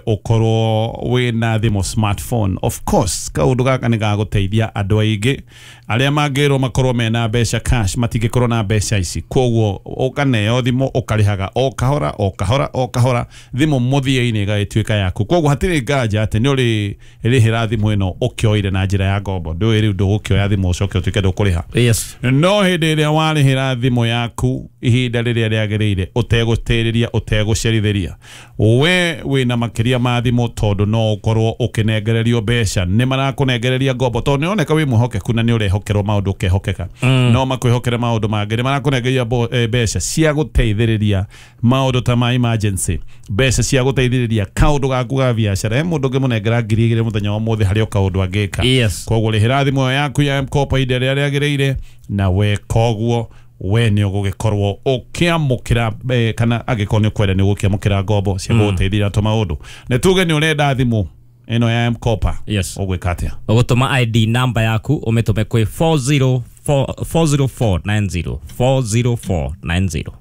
Ukorwo wina thimu smartphone. Of course kaundu gaka ni gaguteithia andu aingi aria mangirwo makorwo mena mbeca cash matingikorwo na mbeca ici, koguo ukaneo thimu ukarihaga o kahora o kahora o kahora, thimu muthia-ini igagituika yaku. Koguo hatiri nganja ati ni uri rihira thimu ino ukioire na njira ya ngombo, ndui riu ndugukioya thimu ucoke utuike ndukuriha. Yes. No hindi iria warihira thimu yaku ihinda riria riagiriire utegutiriria utegucerithiria, we wina makiria ma thimu tondu no ukorwo ukinengererio mbeca, ni marakunengereria ngombo tondu ni oneka wi mwihokeku na ni urehokerwo maundu ukehokeka. No makwihokere maundu mangi, ni marakunengereria mbeca cia guteithiriria maundu ta ma emergency, mbeca cia guteithiriria kaundu gaku ga biacara. He mundu ngimunengera 2,000 muthenya wa muthi hari o kaundu angika. Yes. Koguo rihira thimu yaku ya M-Kopa ihinda riria riagiriire, na we koguo we ni ugugikorwo ukiamukira kana angikorwo ni ukwenda ni ugukiamukira ngombo cia guguteithia to maundu. Ni tuge ni urenda thimu ino ya M-Kopa. Yes. Ugwika atia? Ugutuma ID namba yaku umitume kwi 40490 40490.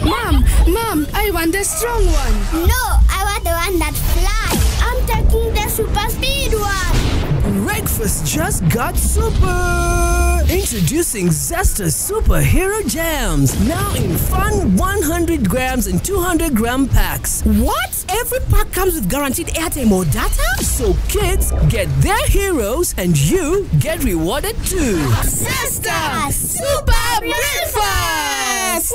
Mom, Mom, I want the strong one. No, I want the one that flies. I'm taking the super speed one. Breakfast just got super. Introducing Zesta Superhero Jams, now in fun 100 grams and 200 gram packs. What? Every pack comes with guaranteed airtime or data? So kids get their heroes and you get rewarded too. Zesta Super Breakfast!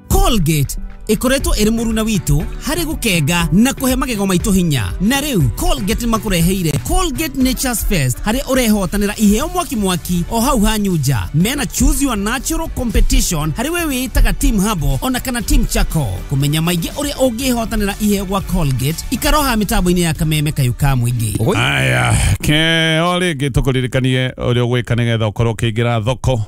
Colgate ikoretwo iri muruna witu hari gukenga na kuhe magego maitu hinya, na riu Colgate makureheire Colgate Nature's Fest hari urehotanira iheo mwaki mwaki o hau hanyuja. Mena choose your natural competition hari we witaga team habo ona kana team chako. Kumenya maingi uria ungihotanira iheo gwa Colgate ikaroha mitambo-ini ya kameme kayu ka mwingi. Aya ke ori gitukuririkanie uria ugwika nigetha ukorwo ukiingira thoko.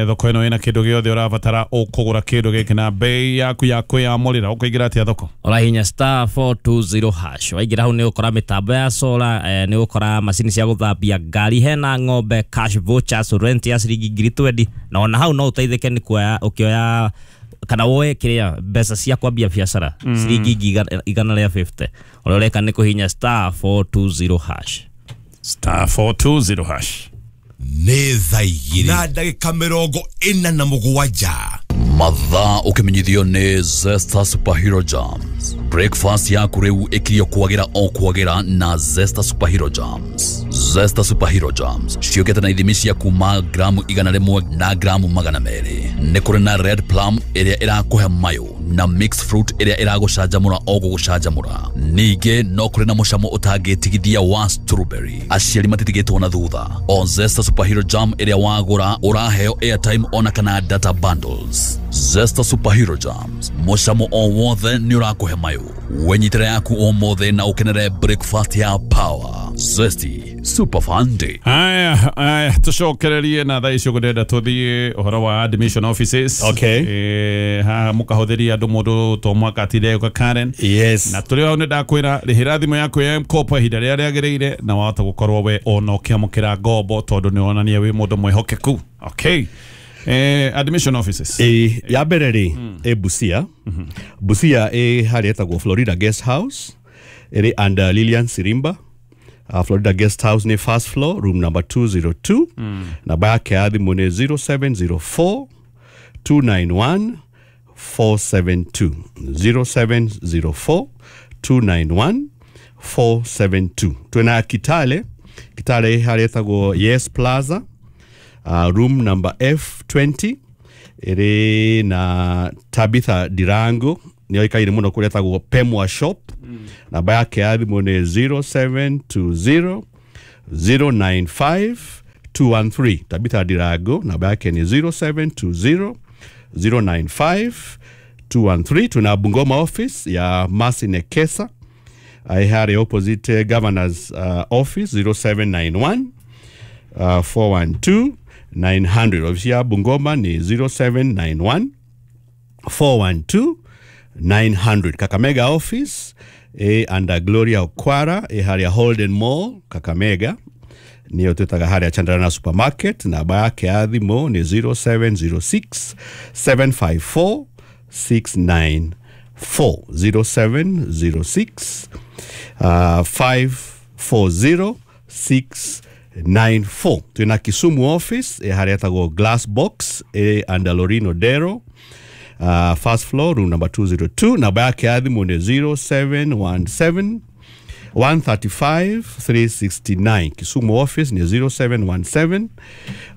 Thoko ino ina kindu giothe urabatara ukugura kindu giki na bei yaku ya kwiyamurira. Ukuingira atia thoko? Urahinya star 420 hash. Waingira hau ni ukora mitambo ya solar, ni ukora macini cia guthambia ngari, hena ng'ombe, cash vouchers, rent ya ciringi 20,000, na ona hau no uteithike ni kuoya ukioya kana woe kiria mbeca cia kwambia biacara ciringi 150. Uria ureka ni kuhinya star 420 hash. Star 420 hash. Nĩ thaa igĩrĩ na ndagĩka 47. Mathaa ũkĩmenyithio nĩ Zesta Superhero Jams. Breakfast yaku rĩu ĩkirio kwagĩra o kwagĩra na Zesta Superhero Jams. Zesta Superhero Jams ciũkĩte na ithimi cia kuma gramu 100 na gramu 200. Nĩ kũrĩ na red plum ĩrĩa ĩrakũhe mayũ na mixed fruit ĩrĩa ĩragũcanjamũra o gũgũcanjamũra. Ningĩ no kũrĩ na mũcamo ũtangĩtigithia wa strawberry. Aciari matitigĩtwo na thutha. O Zesta Superhero Jam ĩrĩa wagũra ũraheo airtime ona kana data bundles. Zesta Superhero Jams, mũcamo o wothe nĩ ũrakũhe mayũ. Wenyitĩre yaku ũmũthĩ na ũkenere breakfast ya power. Zesty Super Fun Day. Aya, aya, tucokererie na thaa icio ngũndenda tũthiĩ ũhoro wa admission offices. Okay. Haha mũkahũthĩria andũ mũndũ to mwaka atinde gũka Karen. Yes. Na tũrĩ hau nĩ ndakwĩra rĩhĩra thimũ yaku ya M-Kopa ihinda rĩrĩa rĩagĩrĩire na wahota gũkorwo we ona ũkĩamũkĩra ngombo tondũ nĩ wonania wĩ mũndũ mwĩhokeku. Okay. Admission offices. Ya mbere rĩ, Busia. Busia harĩa ĩtagwo Florida Guest House, ĩrĩ under Lilian Sirimba. Florida Guest House ni first floor, room number 202. Namba yake ya thimũ nĩ 0704 291 472. 0704 291 472. Twina Kitale. Kitale harĩa ĩtagwo Yes Plaza, room number F20, ĩrĩ na Tabitha Dirango, nĩoĩkaine mũno kũrĩa ĩtagwo Pemwa Shop. Namba yake ya thimũ nĩ 0720 095 213. Tabitha Dirango, namba yake ni 0720 095 213. Tuna Bungoma office ya Mercy Nekesa, harĩ opposite governor's office, 0791 412 900. Ofisi ya Bungoma ni 0791 412 900. Kakamega office under Gloria Okwara, harĩa Holden Mall Kakamega, niyo twĩtaga harĩa Chandarana Supermarket. Namba yake ya thimũ ni 0706 754 695. 0706 540 694. Twina Kisumu office haria etagwo Glass Box under Lorino Dero, first floor, room number 202. Namba yake ya thimu ni 0717 135 369. Kisumu office ni 0717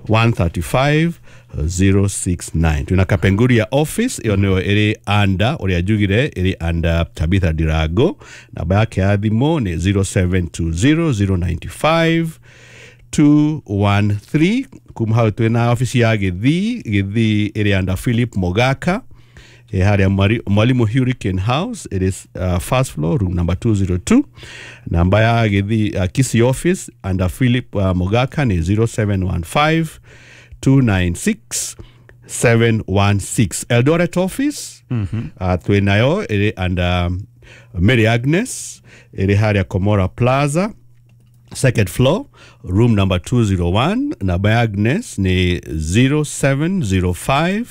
135 069. Twina Kapenguria office, iyo niyo iri under uria njugire, iri under Tabitha Dirago. Namba yake ya thimu ni 0720 095 213. Kuma hau twina office ya Githii. Githii iri under Philip Mogaka, haria Mwalimu Hurricane House. It is first floor, room number 202. Namba ya Githii, Kisii office under Philip Mogaka ni 0715 296 716. Eldoret office twinayo iri under Mary Agnes, iri haria Komora Plaza, second floor, room number 201. Namba ya Agnes ni 0705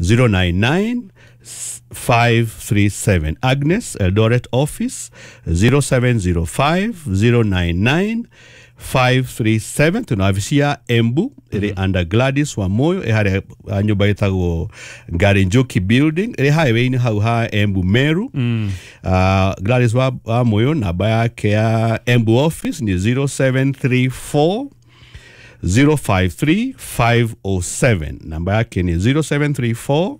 099 537. Agnes, Eldoret office, 0705 099 537. Tuna ofisi ya Embu iri under Gladys Wamoyo, ĩ harĩa nyũmba ĩtagwo Ngarinjoki building, ĩrĩ highway-inĩ hau ha Embu Meru. Gladys Wamoyo, namba yake ya Embu office ni 0734 053 507. Namba yake ni 0734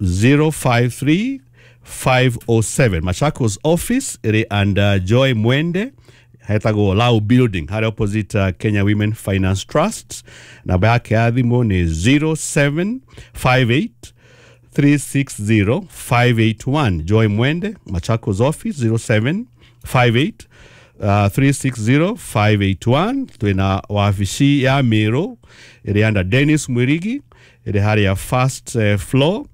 053 507. Machakos office iri under Joy Mwende, hetagwo Lau building, harĩa opposite Kenya Women Finance Trust. Namba yake ya thimũ ni 0758 360 581. Joy Mwende, Machakos office, 0758 360 581. Twina wabici ya Meru iri under Dennis Mwirigi, iri haria first floor,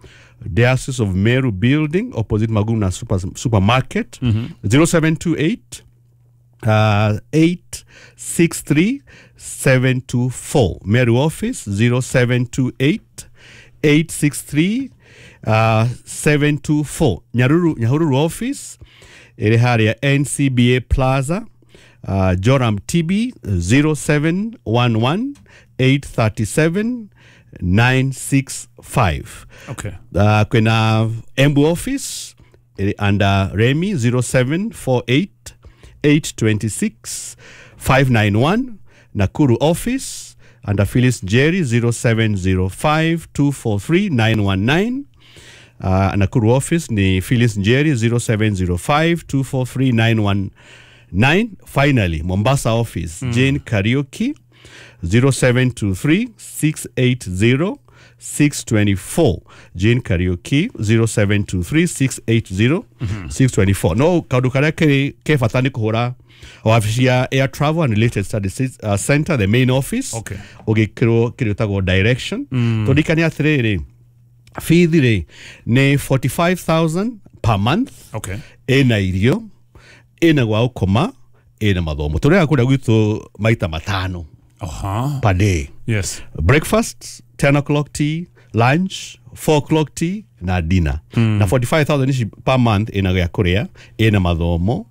Diocese of Meru building, opposite Maguna supermarket. 0728 863 724. Meru office 0728 863 724. Nyahururu office iri haria NCBA Plaza, Joram TB, 0711 837 965. Okay. Kwina Embu office iri under Remy, 0748 826 591. Nakuru office under Phyllis Jerry, 0705 243 919. Nakuru office ni Phyllis Njeri, 0705 243 919. Finally, Mombasa office, Jane Kariuki, 0723 680 624. Jane Kariuki, 0723 680 624. No kaundu karia keri ke bata ni kuhura wabici ya Air Travel and Related Studies Center, the main office. Okay. Ugikirwo kiria utagwo direction. Tũririkane atiriri, bithi rĩ ni 45,000 per month. Okay. Ina irio, ina gwa gũkoma, ina mathomo. Tũrĩaga kũrĩa gwitũ maita matano per day. Yes. Breakfast 10 o'clock tea, lunch 4 o'clock tea na dinner. Na 45,000 ici per month ina gĩa kũrĩa, ina mathomo,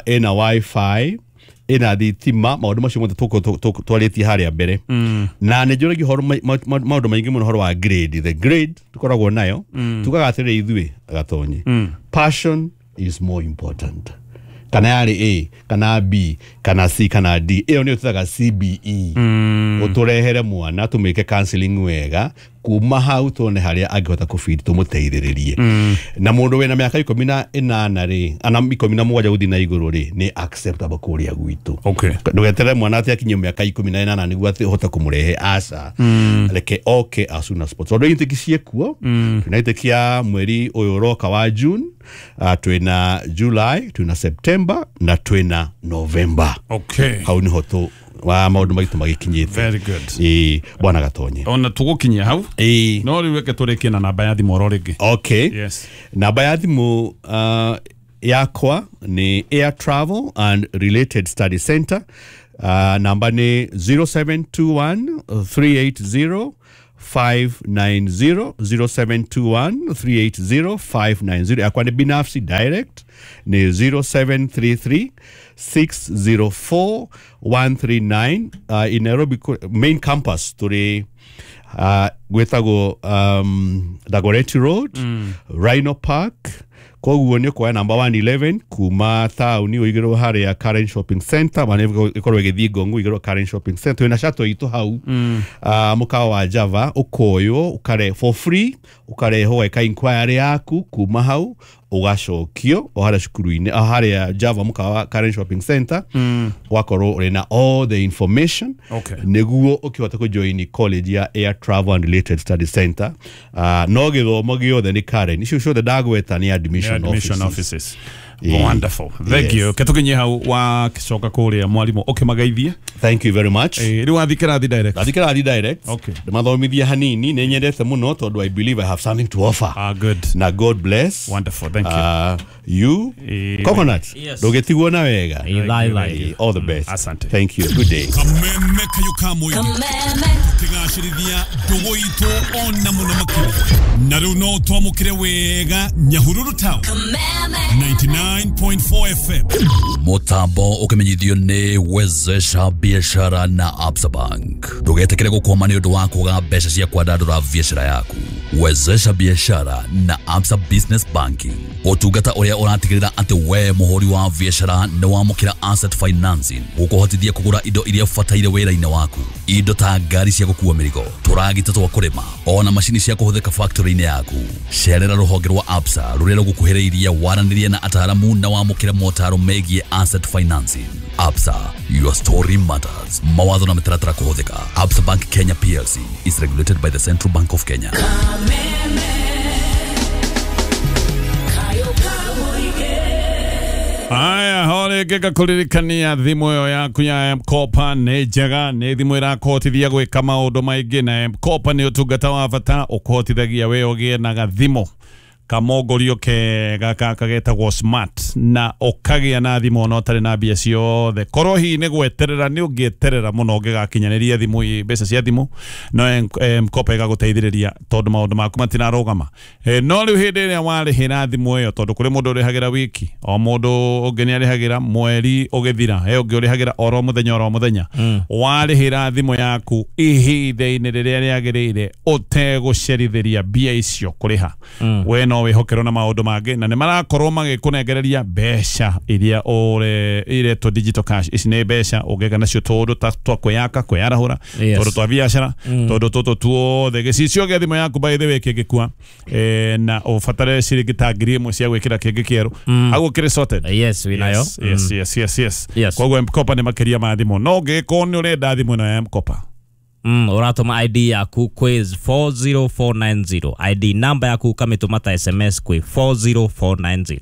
ina wifi, ina thitima, maũndũ macio mothe twarĩtie harĩa mbere. Na nĩ njũragia ũhoro maũndũ maingĩ mũno ũhoro wa grade. The grade tũkoragwo nayo, tugaga atĩrĩrĩ ithuĩ Gatonyi, passion is more important. Kana yarĩ A, kana B, kana C, kana D. Ĩyo nĩyo tũtaga CBE. Ũtũrehere mwana tũmĩke counseling wega, kuma hau tuone harĩa angĩhota kũbidi tũmũteithĩrĩrie. Na mũndũ wĩna mĩaka 18 rĩ, ana 17 gũthiĩ na igũrũ rĩ, nĩ acceptable kũrĩa gwitũ. Okay. Ndũgeterere mwana atĩ akinye mĩaka 18 nĩguo atĩ ũhote kũmũrehe, aca. Reke oke as soon as possible. Tondũ intake ciĩkuo, twĩna intake ya mweri ũyũ ũroka wa June, twĩna July, twĩna September na twĩna November. Okay. Hau niho tũ wa maũndũ maitũ magĩkinyĩte. Very good. Ĩĩ, bwana Gatonye. Ona tũgũkinyia hau. Ĩĩ. No rĩu reke tũrĩkie na namba ya thimũ oro rĩngĩ. Okay. Yes. Namba ya thimũ yakwa ni Air Travel and Related Study Center. Namba ni 0721 380 590 0721 380 590. Yakwa nĩ binafsi direct nĩ 0733 604 139. In Nairobi main campus tũrĩ gwĩtagwo Dagoretti Road, Rhino Park. Koguo nĩ ũkuoya namba 111 kuma taũni ũigĩrwo harĩa Karen Shopping Center, mana ĩkorwo ĩgĩthiĩ Ngong ũigĩrwo Karen Shopping Center, wĩna shuttle itũ hau. Mũkawa wa Java ũkoywo ũkare for free, ũkarehwo weka inquiry yaku kuma hau ũgacokio o harĩa cukuru-inĩ, o harĩa Java mũkawa wa Karen Shopping Center, ũgakorwo ũrĩ na all the information nĩguo ũkĩhota kũjoin college ya Air Travel and Related Study Center. No gĩthomo gĩothe nĩ Karen, icio ciothe ndagweta nĩ admission, admission offices. Offices. Wonderful, thank you. Ketukinye hau wakicoka kuria mwarimu ukimageithie. Thank you very much. Riu wathi kirathi direct? Ndathi kĩrathi direct. Okay. Ndĩmathomithia hanini, nĩ nyendete mũno tondũ I believe I have something to offer. Ah, good. Na God bless. Wonderful, thank you. You Coconut. Yes. Ndũgĩtigwo na wega. Ithai thai. All the best. Asante. Thank you, good day. Kameme kayo ka mũingĩ tũkĩgacĩrithia ndũgũ itũ ona mũno makĩria, na rĩu no twamũkĩre wega Nyahururu Town 99.4 FM. Mutambo ukimenyithio nĩ Wezesha Biashara na Absa Bank. Ndũgetĩkĩre gũkwama nĩ ũndũ wa kwaga mbeca cia kwandandũra biacara yaku. Wezesha Biashara na Absa Business Banking, ũtungata ũrĩa ũratigĩrĩra atĩ we mũhũri wa biacara nĩ wamũkĩra asset financing gũkũhotithia kũgũra indo iria ũbataire wĩra-inĩ waku, indo ta ngari cia gũkua mĩrigo, tũragita twa kũrĩma, ona macini cia kũhũthĩka factory-inĩ yaku. Cerera rũhonge rwa Absa rũrĩa rũgũkuhĩrĩirie, waranĩrie na ataaramu na wamũkĩre motaro megiĩ asset financing. Absa, your story matters. Mawatho na mĩtaratara kũhũthĩka. Absa Bank Kenya PLC is regulated by the Central Bank of Kenya. Aya, hore ngĩka kũririkania thimũ ĩyo yaku ya M-Kopa nĩ njega, nĩ thimũ ĩrakũhotithia gwĩka maũndũ maingĩ, na M-Kopa nĩ ũtungata wa bata ũkũhotithagia we ũgĩe na gathimũ kamongorio kega gaka getagwo smart, na ũkagĩa na thimũ ona ũtarĩ na mbia ciothe. Korwo hihi nĩ gweterera nĩ ũngĩeterera mũno ũngĩgakinyanĩria thimũ mbeca cia thimũ, no M-Kopa ĩgagũteithĩrĩria tondũ maũndũ maku matinarũgama. No rĩu hĩndĩ ĩrĩa warĩhĩra thimũ ĩyo, tondũ kũrĩ mũndũ ũrĩhagĩra wiki, o mũndũ ũngĩ nĩ arĩhagĩra mweri ũgĩthira, he ũngĩ ũrĩhagĩra oro mũthenya oro mũthenya. Warĩhĩra thimũ yaku ihinda-inĩ rĩrĩa rĩagĩrĩire ũtegũcerithĩria mbia icio kũrĩha, we no wĩhokerwo na maũndũ mangĩ, na nĩ marakorwo magĩkũnengereria mbeca iria iretwo digital cash. Ici nĩ mbeca ũngĩka nacio tũũndũ ta twa kwĩyaka, kwĩyarahũra, tũũndũ twa biacara, tũũndũ tũtũ tuothe. Gĩcicio gĩa thimũ yaku by the way kĩngĩkua, na ũbatare ciringi ta 1000 cia gwĩkĩra kĩngĩ kĩerũ, hau ũkĩrĩ sorted. Yes, wĩnayo. Yes. Koguo M-Kopa nĩ makĩria ma thimũ. No ũngĩkorwo nĩ ũrenda thimũ ĩno ya M-Kopa, uratũma ID yaku kwĩ 40490, ID namba yaku ukamĩtũma ta SMS kwĩ 40490.